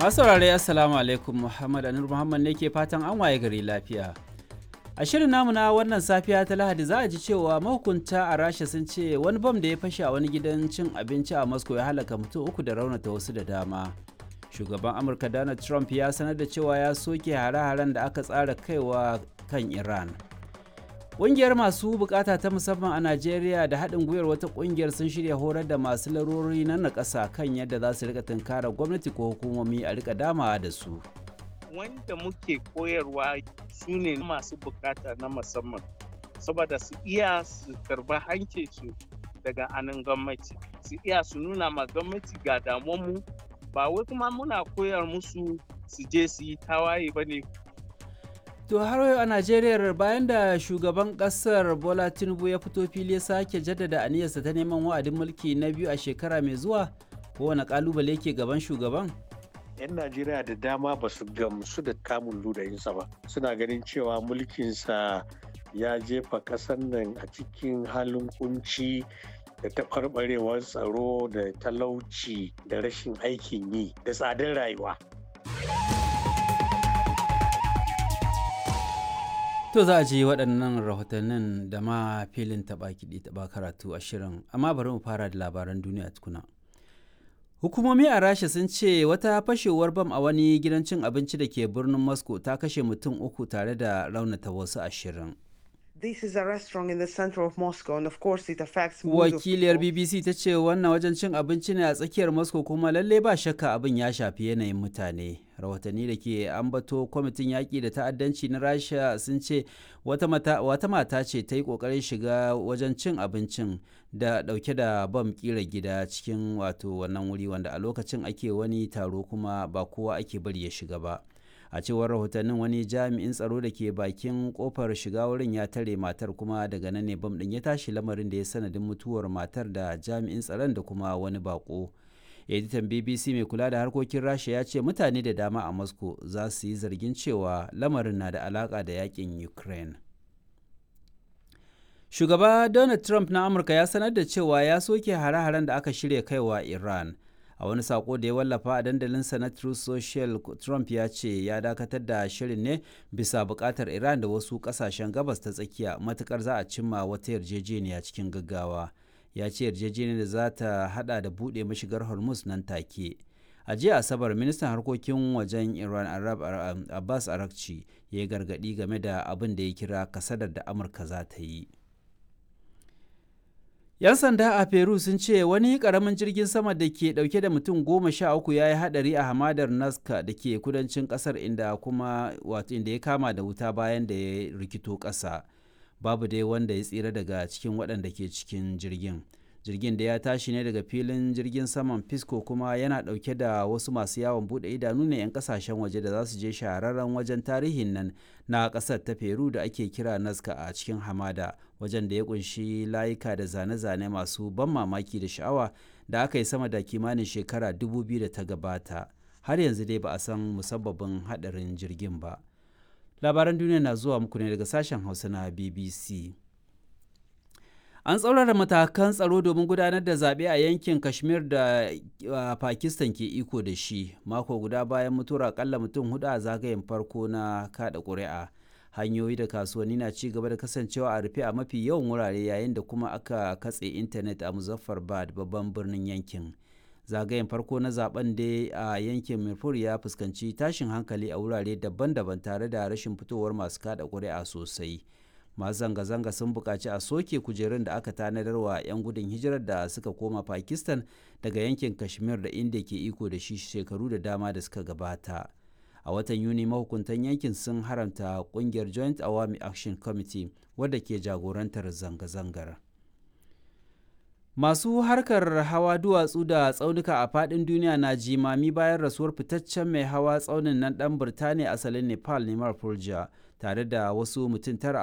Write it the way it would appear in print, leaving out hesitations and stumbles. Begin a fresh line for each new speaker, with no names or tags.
Masu saurare, Assalamu alaikum. Muhammad Anur Muhammad ne ke fatan an waye gari lafiya. A shirin namu na wannan safiya ta Lahadi, za a ji cewa mahukunta a Rasha sun ce wani bam da ya fashe a wani gidan cin abinci a Moscow ya halaka mutum uku da raunata wasu da dama. Shugaban Amurka Donald Trump ya sanar da cewa ya soke hare-haren da aka tsara kaiwa kan Iran. Ƙungiyar masu bukata ta musamman a Najeriya da haɗin gwiwar wata ƙungiyar sun shirya horar da masu larurori na nakasa kan yadda za su rika tunkara gwamnati ko hukumomi a rika damawa da su.
Wanda muke koyarwa su ne masu bukata na musamman, saboda su iya su karba hankinsu daga anan gwamnati, su iya su nuna ma gwamnati ga damuwanmu. Ba wai kuma muna koyar musu su je su yi tawaye ba ne.
To har yau a Najeriya, bayan da shugaban kasar Bola Tinubu ya fito fili ya sake jaddada aniyarsa ta neman wa'adin mulki na biyu a shekara mai zuwa, kowane kalubale ke gaban shugaban.
'Yan Najeriya da dama ba su gamsu da kamun ludayinsa ba, suna ganin cewa mulkinsa ya jefa ƙasar nan a cikin halin kunci da taɓarɓarewar tsaro da talauci da rashin aikin yi da tsadar rayuwa.
To za a ji waɗannan rahotannin da ma filin taɓa kiɗi taɓa karatu a shirin, amma bari mu fara da labaran duniya tukuna. Hukumomi a Rasha sun ce wata fashewar bam a wani gidan cin abinci da ke birnin Moscow ta kashe mutum uku tare da raunata wasu 20.
This is a restaurant in the center of Moscow, and of course it affects moods of
Wakiliyar
people.
BBC ta ce wannan wajen cin abinci ne a tsakiyar Moscow, kuma lalle ba shakka abin ya shafi yanayin mutane. Rahotanni da ke ambato kwamitin yaƙi da ta'addanci na Rasha sun ce wata mata ce ta yi ƙoƙarin shiga wajen cin abincin da ɗauke da bam ƙira gida cikin wato wannan wuri, wanda a lokacin ake wani taro kuma ba kowa ake bari ya shiga ba. A cewar rahotannin, wani jami'in tsaro da ke bakin kofar shiga wurin ya tare matar, kuma daga nan ne bam din ya tashi, lamarin da ya sanadin mutuwar matar da jami'in tsaron da kuma wani bako. Editan BBC mai kula da harkokin Rasha ya ce mutane da dama a Moscow za su yi zargin cewa lamarin na da alaka da yakin Ukraine. Shugaba Donald Trump na Amurka ya sanar da cewa ya soke hare-haren da aka shirya kaiwa Iran. A wani sako da ya wallafa a dandalinsa na Truth Social, Trump ya ce ya dakatar da shirin ne bisa bukatar Iran da wasu kasashen Gabas ta Tsakiya, matukar za a cimma wata yarjejeniya cikin gaggawa. Ya ce yarjejeniyar da za ta hada da buɗe mashigar Hormuz nan take. A jiya Asabar, ministan harkokin wajen Iran Arab Abbas Arakci ya yi gargaɗi game da abin da ya kira kasadar da Amurka za ta yi. 'Yan sanda a Peru sun ce wani karamin jirgin sama da ke dauke da mutum 13 ya yi hadari a hamadar Nazca da ke kudancin kasar, inda kuma wato inda ya kama da wuta bayan da ya rikito kasa. Babu dai wanda ya tsira daga cikin waɗanda ke cikin jirgin. Jirgin da ya tashi ne daga filin jirgin saman Pisco, kuma yana dauke da wasu masu yawon bude idanu ne 'yan kasashen waje da za su je shahararren wajen tarihin nan na kasar ta Peru da ake kira Nazca a cikin hamada, wajen da ya kunshi layuka da zane-zane masu ban mamaki da sha'awa da aka yi sama da kimanin shekara 2000 da ta gabata. Har yanzu dai ba a san musabbabin hadarin jirgin ba. Labaran duniya na zuwa muku ne daga sashen Hausa na BBC. An tsaurara matakan tsaro domin gudanar da zaɓe a yankin Kashmir da Pakistan ke iko da shi, mako guda bayan mutuwar akalla mutum hudu a zagayen farko na kada ƙuri'a. Hanyoyi da kasuwanni na ci gaba da kasancewa a rufe a mafi yawan wurare, yayin da kuma aka katse intanet a Muzaffarabad, babban birnin yankin. Zagayen farko na zaben dai a yankin Mirpur ya fuskanci tashin hankali a wurare daban-daban tare da rashin fitowar masu kada ƙuri'a sosai. Masu zanga-zanga sun buƙaci a soke kujerun da aka tanadar wa 'yan gudun hijirar da suka koma Pakistan daga yankin Kashmir da India ke iko da shi shekaru da dama da suka gabata. A watan Yuni, mahukuntan yankin sun haramta kungiyar Joint Awami Action Committee wadda ke jagorantar zanga-zangar. Masu harkar hawa duwatsu da tsaunuka a faɗin duniya na jimami bayan rasuwar fitaccen mai hawa tsaunin nan ɗan Birtaniya asalin Nepal, Neymar Purja, tare da wasu mutum tara.